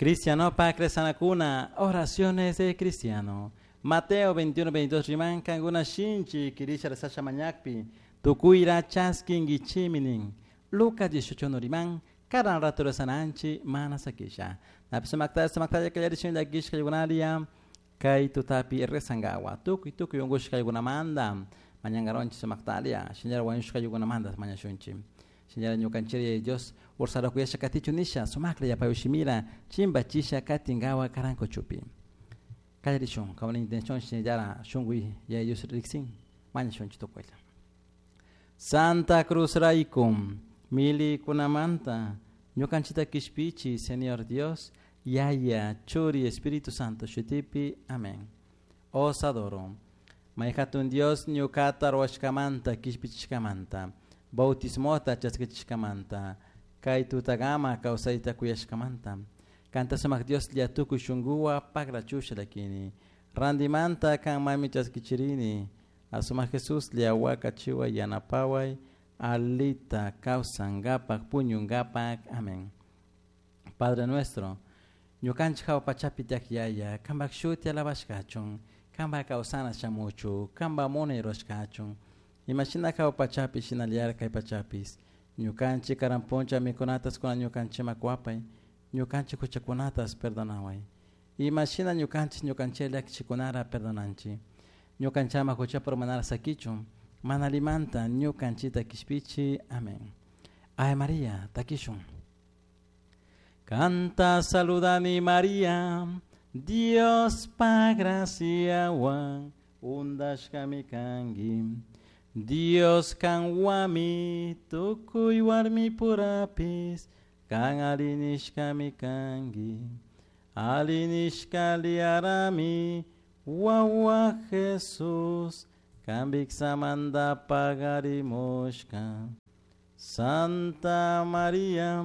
Cristianopak rezanakuna, oraciones de cristiano. Mateo 21, 22 riman kankuna shinchi kirisha rezasha mañakpi, tukuyra chaskinkichimi nin. Lucas 18 no riman, karan rato rezananchi mana sakisha. Napi sumakta sumaktalla kallarishun llakishka yugunaria, kay tutapi rezangawa. Tukuy tukuy unkushka yugunamanta, mañangaronchi sumaktalia, shinallara wañushka yugunamanta mañashunchi. Shinallara ñukanchiri Dios ursara kuyasha katichu nisha, sumakla yapayushimira, chimbachisha katingawa karankuchupi. Kallarishun, kawana intención shinallara shunkuy Yaya Dios riksin, mañashunchi tukuylla. Santa Cruz raykum, milikunamanta, ñukanchita kishpichi, Señor Dios, Yaya, Churi, Espíritu Santo, shutipi, amén. Os adoro. Mayhatun Dios ñukata ruwashkamanta, kishpichishkamanta, bautismota chaskichishkamanta, kay tutagama kawsayta kuyashkamanta. Kanta sumak Dios llatukuy shunkuwa pagrachusha lakini. Randimanta kan mami chaskichirini. Asumak Jesús liawaka chiwa yanapaway alita kawsangapak puñungapak. Amén. Padre nuestro, ñukanchik hawa pachapi tiyak Yaya, kanpak shuti alabashkachun, kanpak kawsana shamuchu, kanpak munay rurashkachun. Imashina hawa pachapi shinallara kay pachapis. Ñukanchik karan puncha mikunatas kuna ñukanchikman kuwapay, ñukanchik huchakunatas perdonaway. Imashina ñukanchik ñukanchik llakichikunara perdonanchik. Ñukanchama huchapi urmanara sakichun, mana allimanta ñukanchikta kishpichi. Amén. Ave María, takishun. Kanta saludani María, Dios pa graciawan undashkami kanki. Dios kanwami tukuy warmi purapis, kan arinishkami kanki. Arinishka liarami, wawa Jesús, kan viksamanta pagarimushka. Santa María,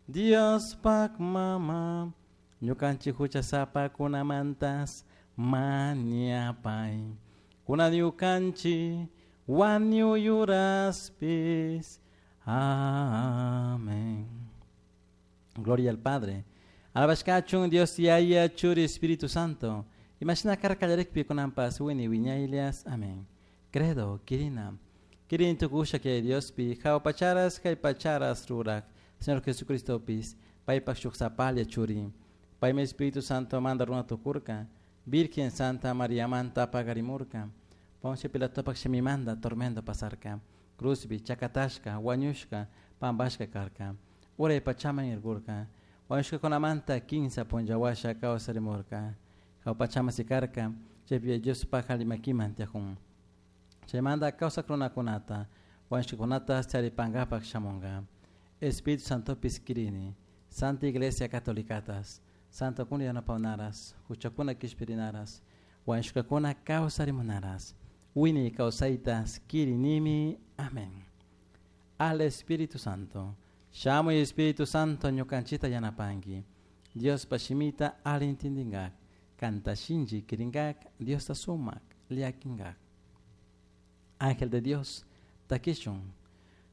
Dios pak mama, ñukanchik huchasapakunamantas mañapay. Kuna ñukanchik wañuyuraspis. Amén. Gloria al Padre. Alabashkachun Dios Yaya Churi Espíritu Santo. Imashina karka kallarikpi kunanpas wini wiñaylias. Amén. Credo, kirina. Kirin tukusha que Diospi, hawa pacharas kay pacharas rurak. Señor Jesucristo pis, paypak shuk sapalla churi. Paymi Espíritu Santo manda runa tukurka. Virgen Santa María manta pagarimurka. Poncio Pilatopak shimimanta tormento pasarka. Cruzbi, chakatashka, wañushka, pampashka karka. Uray pachaman irkurka. Wañushkakunamanta kinsa punlla washa kawsarimurka. Hawa pachaman sikarka, chaypi Diospak alli makiman tiyakun. Chaymanta kawsak runakunata, wañushkakunata charipankapak shamunka. Espíritu Santopis kirini, Santa Iglesia Catolicatas, Santokuna yanapawnaras, huchakuna kishpirinaras, wañushkakuna kawsarimunaras, wini kawsaytas kirinimi. Amén. Al Espíritu Santo. Shamuy Espíritu Santo ñukanchita yanapanki. Diospa shimita alli intindingak, kanta shinchi kiringak, Diosta sumak llakinkak. Ángel de Dios, takishun.